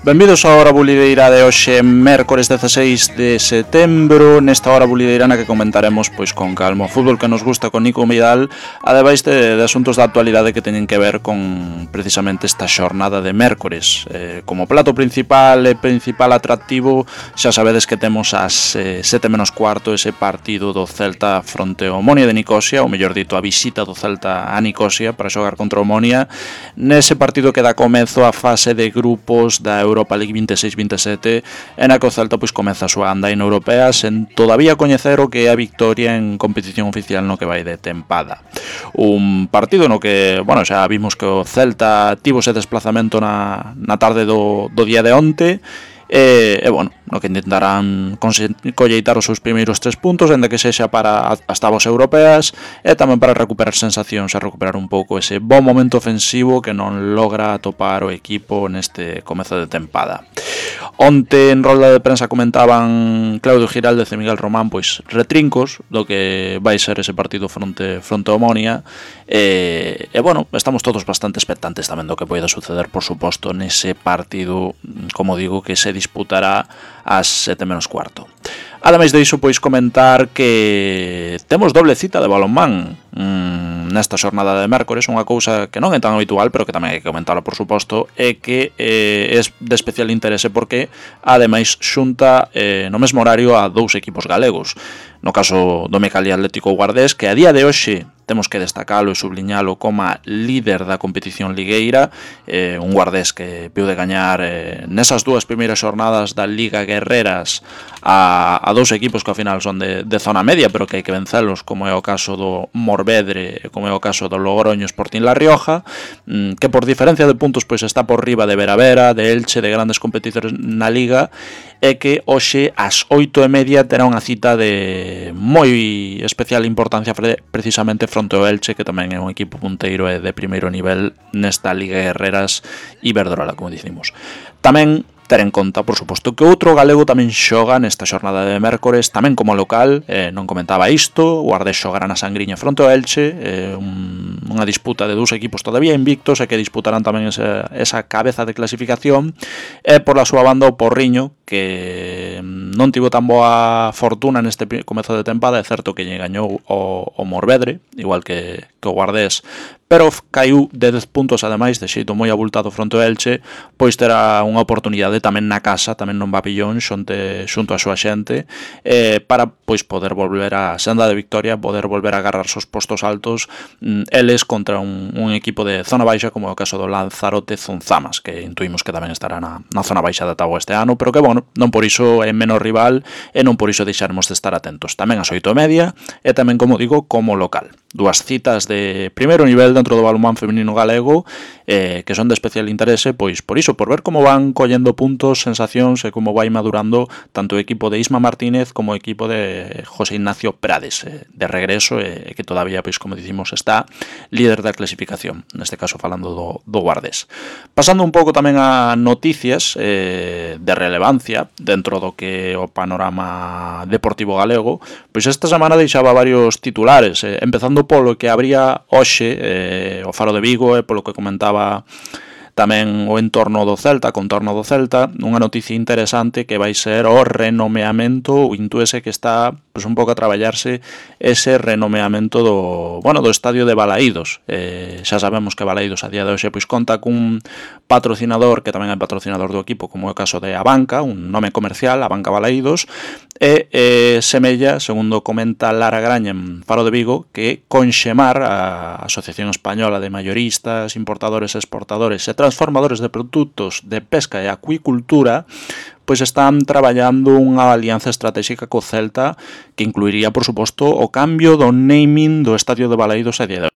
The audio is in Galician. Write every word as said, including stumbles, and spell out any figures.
Benvidos á hora bulideira de hoxe, mércores dezaseis de setembro. Nesta hora bulideira na que comentaremos pois con calma o fútbol que nos gusta con Nico Vidal, ademais de, de asuntos da actualidade que teñen que ver con precisamente esta xornada de mércores. eh, Como plato principal e principal atractivo, xa sabedes que temos ás eh, sete menos cuarto ese partido do Celta fronte ao Omonia de Nicosia, ou mellor dito, a visita do Celta a Nicosia para xogar contra o Omonia. Nese partido que dá comezo a fase de grupos da Europa League veintiséis veintisiete, e na que o Celta pois comeza a súa andaina europea sen todavía coñecer o que é a victoria en competición oficial no que vai de tempada. Un partido no que, bueno, xa vimos que o Celta tivo ese desplazamento na, na tarde do, do día de onte, e, e bueno, no que intentarán colleitar os seus primeiros tres puntos, ainda que sexa para as tabas europeas, e tamén para recuperar sensacións, a recuperar un pouco ese bon momento ofensivo que non logra atopar o equipo neste comezo de tempada. Onte en rolda de prensa comentaban Claudio Giraldez e Miguel Román pois retrincos do que vai ser ese partido fronte fronte ao Omonia, e, e bueno, estamos todos bastante expectantes tamén do que poida suceder, por suposto, nese partido, como digo, que se disputará ás sete menos cuarto. Ademais de iso, pois comentar que temos doble cita de balonmán mmm, nesta xornada de mércores, unha cousa que non é tan habitual, pero que tamén hai que comentarla, por suposto, é que eh, é de especial interese porque ademais xunta eh, no mesmo horario a dous equipos galegos. No caso do Mecali Atlético Guardés, que a día de hoxe temos que destacalo e subliñalo como líder da competición ligueira, eh, un Guardés que viu de gañar eh, nesas dúas primeiras xornadas da Liga Guerreras a, a dous equipos que ao final son de, de zona media, pero que hai que vencelos, como é o caso do Morvedre, como é o caso do Logroño Sporting La Rioja, mm, que por diferencia de puntos pois está por riba de Veravera, de Elche, de grandes competidores na Liga, e que hoxe ás oito e media terá unha cita de moi especial importancia precisamente fronte ao Elche, que tamén é un equipo punteiro e de primeiro nivel nesta Liga Guerreras Iberdrola, como dicimos. Tamén ter en conta, por suposto, que outro galego tamén xoga nesta xornada de mércores, tamén como local, eh, non comentaba isto, o Guardés xogará na Sangriña fronte ao Elche, eh, un, unha disputa de dous equipos todavía invictos e que disputarán tamén esa, esa cabeza de clasificación, e por la súa banda o Porriño, que non tivo tan boa fortuna neste comezo de tempada, é certo que lle gañou o, o Morvedre, igual que, que o Guardés, pero caiu de dez puntos, ademais, de xeito moi abultado fronte ao Elche, pois terá unha oportunidade tamén na casa, tamén non Papillón, xunte, xunto a súa xente, eh, para pois poder volver a senda de victoria, poder volver a agarrar os postos altos, mm, eles contra un, un equipo de zona baixa, como é o caso do Lanzarote Zunzamas, que intuimos que tamén estará na, na zona baixa da táboa este ano, pero que, bueno, non por iso é menos rival, e non por iso deixaremos de estar atentos. Tamén ás oito e media, e tamén, como digo, como local. Dúas citas de primeiro nivel dentro do balonmán feminino galego, eh, que son de especial interese, pois por iso, por ver como van collendo puntos, sensacións e como vai madurando tanto o equipo de Isma Martínez como o equipo de José Ignacio Prades, eh, de regreso, e eh, que todavía, pois como dicimos, está líder da clasificación, neste caso falando do, do Guardés. Pasando un pouco tamén a noticias eh, de relevancia dentro do que o panorama deportivo galego, pois esta semana deixaba varios titulares, eh, empezando polo que habría hoxe eh, o Faro de Vigo, e polo que comentaba tamén o entorno do Celta, contorno do Celta, unha noticia interesante que vai ser o renomeamento, o intúese que está pois, un pouco a traballarse ese renomeamento do, bueno, do estadio de Balaídos. Eh, xa sabemos que Balaídos a día de hoxe pois conta cun patrocinador que tamén é patrocinador do equipo, como é o caso de Abanca, un nome comercial, Abanca Balaídos, e eh, semella, segundo comenta Lara Graña en Faro de Vigo, que Conxemar, a Asociación Española de Mayoristas, Importadores, Exportadores e Transformadores de Produtos de Pesca e Acuicultura, pois están traballando unha alianza estratégica co Celta que incluiría, por suposto, o cambio do naming do estadio de Balaídos a día de